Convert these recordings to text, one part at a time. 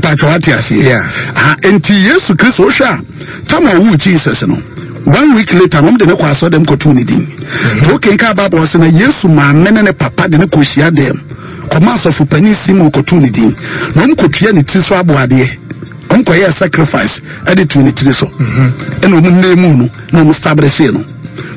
Mpatwa wate aseɛ. Yeah. Ah, nti Yesu Kristo wohwɛ a tam a ɔwoo Jesus no one week later na wɔn de ne kɔ asɔ dɛm kɔtoo ne din. Nti wokenkan Bible ɔsɛ na Yesu maame ne ne papa de ne kɔ hyia dɛm kɔma asɔfo panin Simon kɔtoo ne din na wɔn kɔtua ne tiri so aboadeɛ wɔn kɔyɛɛ sacrifice ɛde too ne tiri so ɛna wɔn name no na wɔn establish no.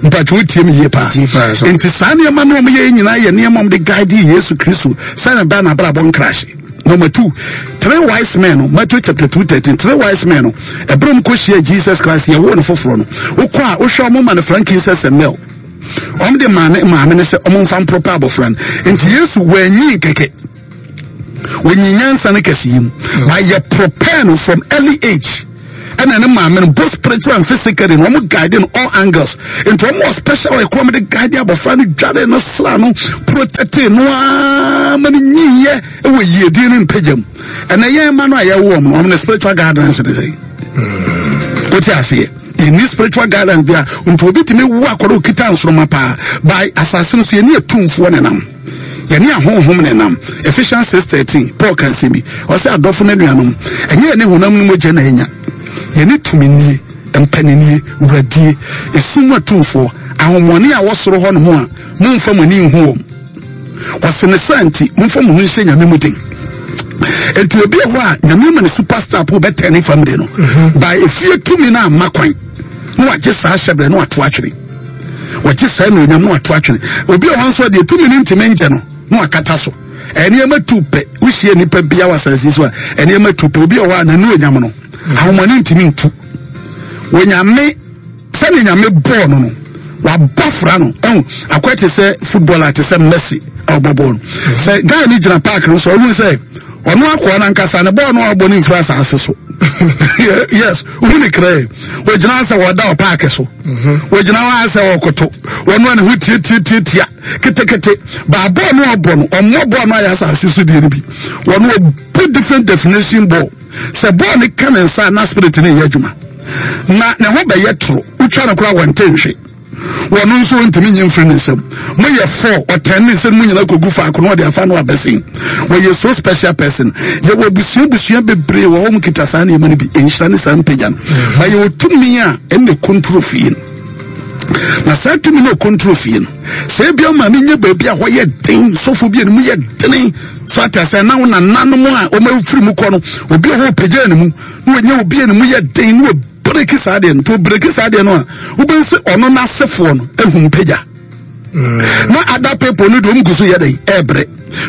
Mpatwa wotie me yie paa. Nti saa nneɛma no wɔn yɛ nyinaa yɛ nneɛma wɔn de guide Yesu Kristo sɛ ne ba n'abrabɔ nkrahye. Number two, three wise men no, Matthew chapter 2:13, three wise men no, ɛberɛ mu kɔhyia Jesus Christ, yɛwoo no foforɔ no, wokɔ a wohwɛ ɔmo ma no frankincense and myrrh. Ɔmo de maa ne maame no sɛ ɔmo mfa mpropa abɔfra no. Nti Yesu wanyin kɛkɛ. Wanyin nyansa no kɛse yi mu. But yɛ prepare no from early age. Ɛna ne maame no both spiritual and physically no wɔn guide no all angles nti wɔn wɔ special ɛkɔ wɔn de guide abɔfra no dware no sra no protect no aa ma no nyinyɛ ɛwɔ yiedie ne mpagya mu. Ɛna yɛn mma no a yɛwɔ wɔn no, wɔn no spiritual guidance ne sɛ wote aseɛ, yɛnni spiritual guidance bia. Nti obi tumi wu akɔrɔ okita nsoroma paa by asase no so, yɛne atumfoɔ nenam, yɛne ahonhom nenam. Ephesians 6:13, Paul ka nsɛm bi, ɔsɛ adɔfo no anuanom, ɛnyɛ yɛne honam no mogya na anya, yɛne tuminie, mpaninie, wuradie, esum mu atumfoɔ, ahonhommɔne a wɔ soro hɔ nom a momfa mo ani nhu wɔn. Ɔse ne saa nti momfa mo ho nhyɛ Nyame mu den. Nti obi wɔ hɔ a Nyame ama ne superstar po bɛtɛn ne family no by efie tumi no amma kwan na wagye saa hyɛbrɛ na wato atwene, wagye saa anuonyam na wato atwene. Obi wɔ hɔ nso deɛ tumi no ntumi ngyɛ no na wakata so. Nneɛma tu pɛ, wohyia nipa bia wɔ asase so a nneɛma tu pɛ. Obi wɔ hɔ a n'anuonyam no ahomɔne ntumi ntu. Onyame Sɛdeɛ Nyame bɔɔ no no, wabɔ fra no. Ɛhu, akɔyɛ te sɛ footballer te sɛ Messi a ɔbɔ bɔɔl no. Sɛ guy no gyina park no so, ɔhu sɛ ɔno akoa no ankasa ne bɔɔl no a ɔbɔ no mfiri asase so. Yes, wohu ne krɛ. Wɔgyina sɛ wɔda wɔ park so. Wɔgyina hɔ sɛ wɔkoto. Wɔn a ne ho tiatiatiatia ketekete. Baa bɔɔl no a ɔbɔ no, ɔmmɔ bɔɔl no ayɛ asase so deɛ no bi. Wɔn ɔbɔ different definition ball. Sɛ bɔɔl no ka ne nsa a, na spirit no yɛ adwuma na ne ho bɛyɛ toro. Wotwa no koraa wɔnte nhwe. Wɔn nso ntumi nyi mfiri ne nsam. Moyɛ fɔ ɔtɛn ne nsam mu nyinaa kɔgu faako na ɔde afa no abɛsen. Wɔyɛ so special person. Yɛwɔ abusua abusua bebree wɔ hɔ mu kita saa nneɛma no bi. Nhyira ne saa mpagya no. Ba yɛwɔ tumi a ɛnna kontro fie no. Na saa tumi no ɔkontro fie no. Sɛ ebi ama ne nyɛ baabi a hɔ yɛ den, sɔfo bi a ne mu yɛ dene. So ate asɛ na wo nananom a wɔn afiri mu kɔ no, obi a hɔ ɔpagya ne mu na wɔnyɛ obi a ne mu yɛ den na wɔbreki saa deɛ no. Nti wɔbreki saa deɛ no a, wobɛhu sɛ ɔno n'asefoɔ no ahu mpagya. Na other people no deɛ wɔn gu so yɛ dɛn ɛɛbrɛ.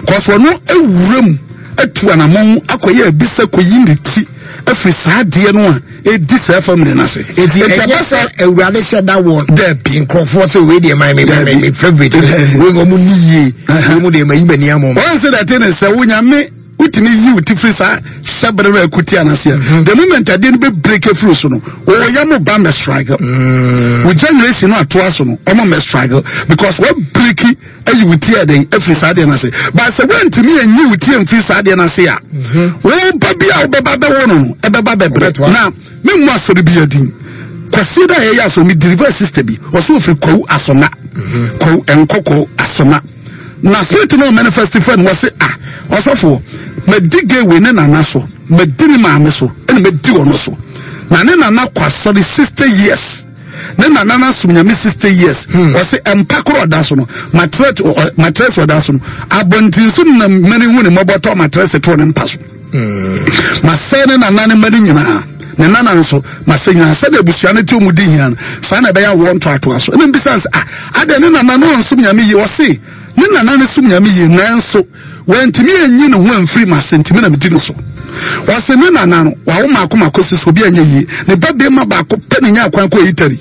Kɔsɔ ɔno awura mu atu anamɔn akɔyɛ abisa kɔyi ne ti afiri saa adeɛ no a ɛdi saa family no ase. Eti ɛnyɛ sɛ Awurade hyɛ da wɔ Dabi. nkurɔfoɔ sɛ wei deɛ my my my favourite wei wɔn ni yie wei mu deɛ ma yi m'ani ama wɔn. Wɔn sɛ dɛte ne sɛ wo Nyame wotumi yi wo ti firi saa hyɛbere no akuti anaseɛ. The moment adeɛ no bɛ break afiri so no, wɔyɛ mo ba mɛ struggle. Wo generation no atoa so no, wɔn mɛ struggle because wɔ break ayi wo ti ɛdɛn afiri saa adeɛ no ase. But sɛ woantumi anyi wo ti amfiri saa adeɛ no ase a, wo ba bi a wobɛba bɛwo no no ɛbɛba bɛbrɛ. Na memmu asɔre bi adin. Kwasie da a yɛyɛ asɔre, me deliver sister bi, ɔsɛ ofiri Kwawu Asona. Kwawu Nkɔkɔ Asona. Na spirit no manifest fɛ no, wɔse ah, ɔsɔfoɔ, madi gay wei ne nana so, madi ne maame so, ɛna madi ɔno so. Na ne nana kɔ asɔre 60 years. Ne nana no asom Nyame 60 years. Ɔse mpa koro ɔda so no, matress ɔda so no, abɔnten so na mani hu ne mmɔbɔ tɔ matress too ne mpa so. Masɛe ne nana ne mma no nyinaa, ne nana nso masɛ nyinaa. Sɛdeɛ abusua no te ɔmu di hia no, saa na ɛbɛyɛ awoɔ ntoatoa so. Ɛna mbisa sɛ, ah, adɛn ne nana no ɔnsom Nyame yie? Ɔse ne nana no som Nyame yie, nanso wantumi anyi ne ho amfiri m'ase, nti me na medi no so. Ɔse ne nana no wawo maako maako si so, obi anyɛ yie. Ne ba bɛrima baako pɛ ne nya kwan kɔ Italy.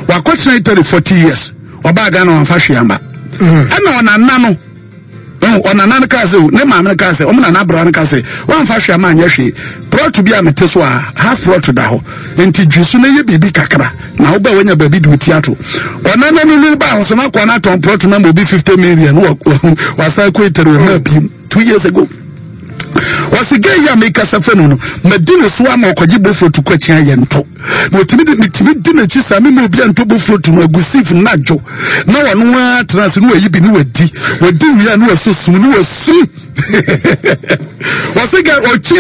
Wakɔtena Italy 40 years. Ɔbaa Ghana wamfa hwee amba. Ɛna ɔnana no, ɔnana no kaa sɛ, ne maame no kaa sɛ, ɔmo nana abra no kaa sɛ, wamfa hwee ama anyɛ hwee. Plot bi a mete so a, half plot da hɔ. Nti dwi so na yɛ biribi kakra. Na wobɛ wanya baabi de oti ato. Ɔnana no no ba ho so na akɔ na atɔn plot na ma obi 50 million. Wasan kɔ Italy wɔ ma bi 2 years ago. Ɔsi gay yi a mekasa fɛ no no, madi ne so ama ɔkɔgye bofrot kɔ akyi ayɛ ntɔ. Na otumi de metumi di n'akyi saa mema obi a ntɔ bofrot no agu sif na adwo. Na ɔno ara tena ase na wayi bi ne wadi. Wadi wie a na waso sum ne wasum. Ɔsi gay ɔkyi.